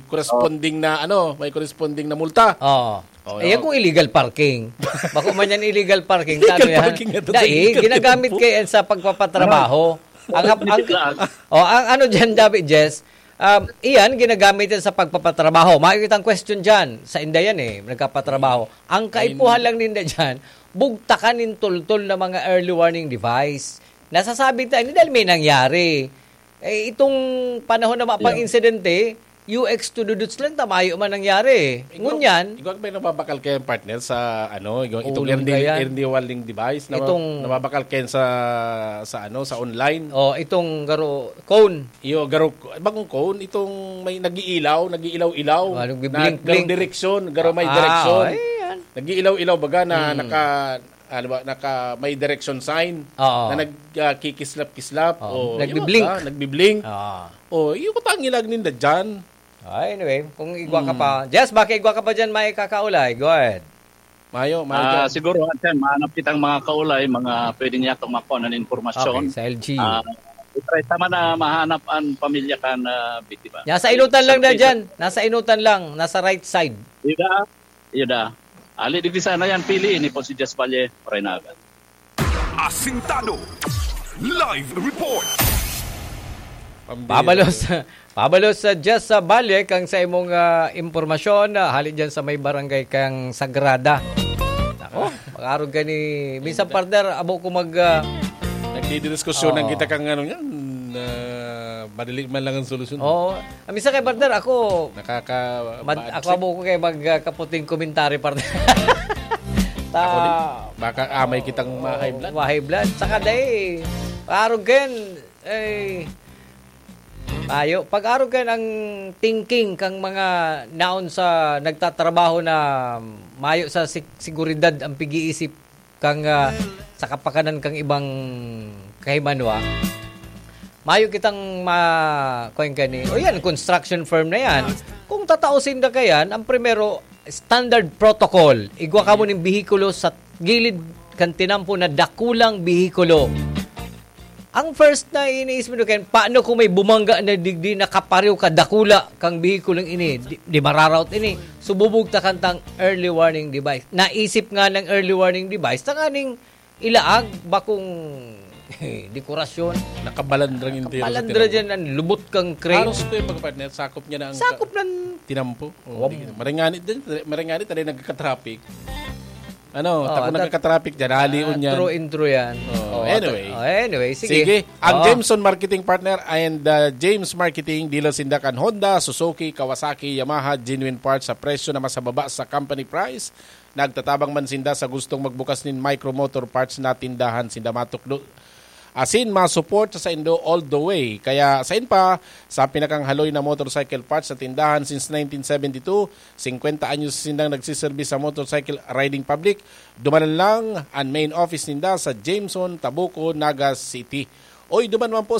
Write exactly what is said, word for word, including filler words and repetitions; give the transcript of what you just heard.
corresponding na, ano, may corresponding na multa. Oo. Oh, Ayan yun. Kung illegal parking. Bako man yan illegal parking. Illegal Ano yan? Parking nga to, Dahil illegal ginagamit tempo. Kayo yan sa pagpapatrabaho. Ang, ang, Bigla. Oh, ang ano dyan, David Jess, um, iyan, ginagamit yan sa pagpapatrabaho. Makikita ang question dyan. Sa inda yan eh, nagpapatrabaho. Ang kaipuhan lang ninda dyan, bugtakan nin tultol na mga early warning device. Nasasabi tayo, hindi dahil may nangyari. Eh, itong panahon na mapang Yeah. insidente, U X to duduts lang, tamayo man nangyari. Eh, Ngunyan, Igwag may nababakal kayo, partner, sa ano, igwag, itong Ulong early, na yan. Early warning device na Itong- nababakal kayo sa, sa ano, sa online. Oh, itong garo cone. Iyo, garo, bagong cone, itong may nag-iilaw, nag-iilaw-ilaw. Ah, nagbi-blink, na, garo blink. Direksyon, garo may Ah, direksyon. Ayan. Nag-iilaw-ilaw baga na Hmm. naka, ano ba, naka may direction sign Oo. na nagkikislap-kislap. Oo. O, Nagbi-blink. Yun ba? Nagbi-blink. Ah. O, yung kutang ilag ninda dyan. Ah, anyway, kung igwa ka Hmm. pa. Jess, baka igwa ka pa dyan, may kakaulay. Go ahead. Mayo, mayo Ah, dyan. siguro, Anton, mahanap kitang mga kaulay, mga pwede niya itong makuha ng impormasyon. Okay, sa L G. Ah, try tama na mahanap ang pamilya kan biktima. Nasa inutan lang na Sa- dyan. Nasa inutan lang. Nasa right side. Yuda, yuda. Ali, digdi sana yan, pili, ini po si Jess Valle, Renaga. Asintado. Live report. Pambira. Pabalos, pabalos sa Jess sa Valle kang sa imong ah, impormasyon, ah, hali dyan sa may barangay kang Sagrada. Ako, mag-arog ka ni... Minsan, partner, abo ko mag... ah, Nagdidiskusyonan Oo. kita kang ano yan. Ah, madali man lang ang solusyon. Oo. Ah, minsan kay partner, ako... Nakaka... Mad, ako abo ko kay mag ah, kaputing komentary, partner. Ta... Ako din. Baka amay kitang ma-high blood. Ma-high blood. Saka dai, arog ken, eh, tayo. Pag arog ken ang thinking kang mga naon sa nagtatrabaho na mayo sa sig- seguridad ang pag-iisip kang ah, sa kapakanan kang ibang kahimanwa. Mayo kitang ma... kuwan ka ni... O yan, construction firm na yan. Kung tatausin na ka yan, ang primero, standard protocol. Igwa ka mo ning behikulo sa gilid kan tinampo na dakulang behikulo. Ang first na iniisip mo ken, paano kung may bumangga na digdi na kapariw ka dakula kang behikulong ini, di, di mararaot ini. Sububog ta kantang early warning device. Naisip nga ng early warning device, tanganing ilaag bakong dekorasyon. Nakabalandra ng entero sa Balandra tinampo. Dyan ang lubot kang crane. Halos ito yung mga partner, sakop niya na ang Sakop ng tinampo. Wow. Oh, di, maringani din, maringani tayo nagka-traffic. Ano, Oh, tako that- nagka-traffic dyan, halion Ah, yan. True intro yan. Oh, Oh, anyway. oh, anyway, sige. Sige. Ang Oh. Jameson Marketing Partner and uh, James Marketing, dealer sinda kan Honda, Suzuki, Kawasaki, Yamaha, genuine parts sa presyo na mas mababa sa company price. Nagtatabang man sinda sa gustong magbukas nin micro motor parts na tindahan sinda matukdo. Asin, ma-support sa saindo all the way. Kaya, sain pa, sa pinakang haloy na motorcycle parts sa tindahan since nineteen seventy-two, singkwenta anyos sindang nagsiserbi sa motorcycle riding public. Dumanan lang ang main office ninda sa Jameson, Tabuco, Naga City. Oy, duman man po